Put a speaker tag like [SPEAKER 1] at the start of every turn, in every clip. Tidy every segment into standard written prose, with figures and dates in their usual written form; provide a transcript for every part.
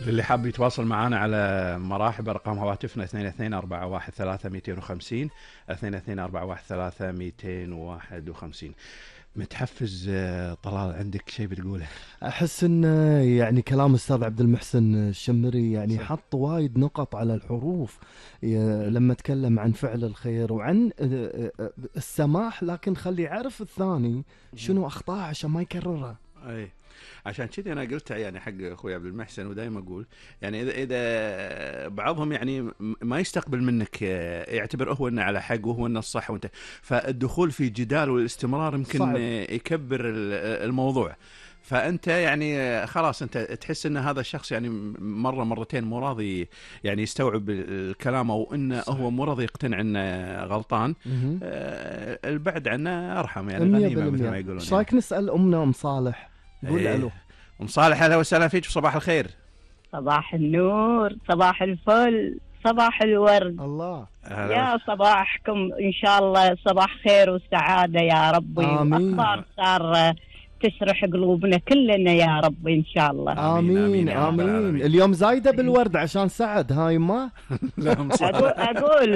[SPEAKER 1] للي حاب يتواصل معنا على مراحب أرقام هواتفنا 22413250 22413251. متحفز طلال، عندك شيء بتقوله؟
[SPEAKER 2] احس ان يعني كلام استاذ عبد المحسن الشمري يعني
[SPEAKER 1] صح.
[SPEAKER 2] حط وايد نقط على الحروف لما تكلم عن فعل الخير وعن السماح، لكن خلي يعرف الثاني شنو اخطاءه عشان ما يكررها.
[SPEAKER 1] اي عشان كذي انا قلتها يعني حق اخوي عبد المحسن، ودائما اقول يعني اذا بعضهم يعني ما يستقبل منك، يعتبر هو انه على حق وهو انه الصح وانت، فالدخول في جدال والاستمرار يمكن
[SPEAKER 2] صعب.
[SPEAKER 1] يكبر الموضوع. فانت يعني خلاص انت تحس ان هذا الشخص يعني مره مرتين مو راضي يعني يستوعب الكلام، او انه
[SPEAKER 2] صح.
[SPEAKER 1] هو مو راضي يقتنع انه غلطان. البعد عنه ارحم يعني، غنيمه مثل ما يقولون.
[SPEAKER 2] ايش رايك نسال امنا ام صالح؟ قول الو.
[SPEAKER 1] ام صالح، اهلا وسهلا فيك، صباح الخير.
[SPEAKER 3] صباح النور، صباح الفل، صباح الورد.
[SPEAKER 2] الله
[SPEAKER 3] يا صباحكم ان شاء الله صباح خير وسعاده يا ربي.
[SPEAKER 2] آمين.
[SPEAKER 3] واخبار ساره تسرح قلوبنا كلنا يا ربي ان شاء الله.
[SPEAKER 2] آمين آمين, آمين. اليوم زايده بالورد عشان سعد هاي ما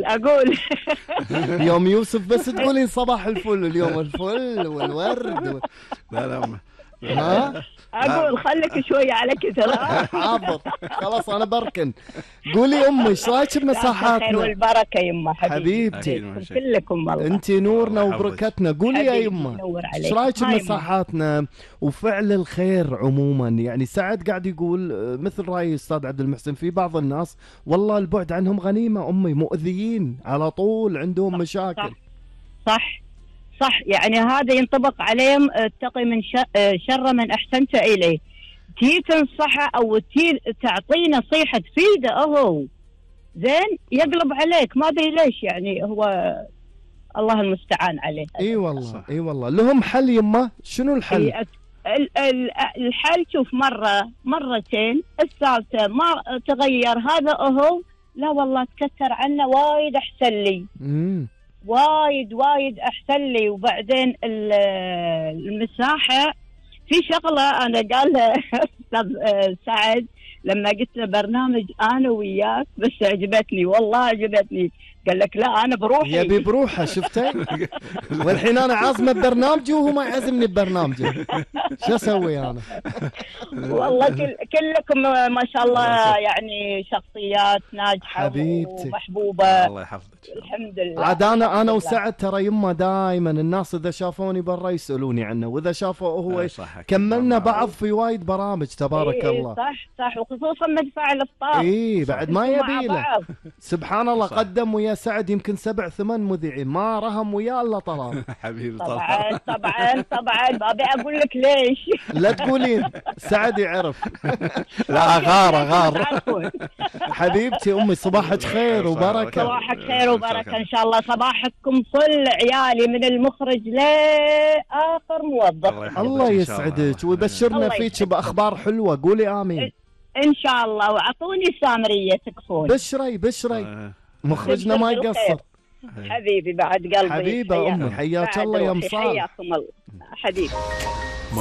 [SPEAKER 3] اقول
[SPEAKER 2] يوم يوسف بس تقولين صباح الفل، اليوم الفل والورد
[SPEAKER 1] لا
[SPEAKER 2] ها
[SPEAKER 3] اقول خليك شويه على كثر.
[SPEAKER 2] حاضر خلاص انا بركن. قولي امي ايش رايك بمساحاتنا؟
[SPEAKER 3] الخير والبركه يما
[SPEAKER 2] حبيبتي
[SPEAKER 3] كلكم والله.
[SPEAKER 2] انت نورنا وبركتنا. قولي يا يما ايش رايك بمساحاتنا وفعل الخير عموما؟ يعني سعد قاعد يقول مثل راي استاذ عبد المحسن، في بعض الناس والله البعد عنهم غنيمه امي، مؤذيين على طول، عندهم مشاكل.
[SPEAKER 3] صح يعني هذا ينطبق عليهم. اتقي من شر من احسنت اليه. تي تنصحه او تي تعطيه نصيحه تفيده اهو زين، يقلب عليك ما ادري ليش، يعني هو الله المستعان عليه.
[SPEAKER 2] اي والله اي والله. لهم حل يما؟ شنو الحل؟
[SPEAKER 3] الحل شوف، مرتين، الثالثه ما تغير هذا اهو، لا والله تكثر عنه وايد احسن لي. وايد احسن لي. وبعدين المساحه في شغله انا قالها استاذ سعد لما قلت له برنامج انا وياك، بس عجبتني والله عجبتني. قال لك لا انا بروحي.
[SPEAKER 2] يبي بروحه شفتي؟ والحين انا عازمه ببرنامجي وهو ما يعزمني ببرنامجه، شو اسوي انا؟
[SPEAKER 3] والله كلكم ما شاء الله يعني شخصيات ناجحه
[SPEAKER 2] حبيبتي
[SPEAKER 3] ومحبوبه.
[SPEAKER 1] الله يحفظك.
[SPEAKER 3] الحمد لله.
[SPEAKER 2] عاد انا وسعد ترى يما دائما الناس اذا شافوني برا يسالوني عنه، واذا شافوا هو كملنا بعض في وايد برامج تبارك الله.
[SPEAKER 3] صح وخصوصا مدفع الافطار.
[SPEAKER 2] بعد ما يبي له سبحان الله. قدم ويا سعد يمكن 7-8 مذيعين، ما رهم وياه الا طلال.
[SPEAKER 1] حبيبي
[SPEAKER 3] طبعا ما ابي اقول لك ليش.
[SPEAKER 2] لا تقولين سعد يعرف.
[SPEAKER 1] لا غار
[SPEAKER 2] حبيبتي امي صباحك خير وبركه.
[SPEAKER 3] صباحك خير وبركه ان شاء الله. صباحكم فل عيالي من المخرج لاخر موظف.
[SPEAKER 2] الله يسعدك ويبشرنا فيك باخبار حلوه. قولي امين
[SPEAKER 3] ان شاء الله. واعطوني سامريه تكفون.
[SPEAKER 2] بشري مخرجنا ما يقصر.
[SPEAKER 3] حبيبي بعد قلبي.
[SPEAKER 2] حبيبه امي حياك الله يا مصالح.
[SPEAKER 3] حياكم الله حبيبي.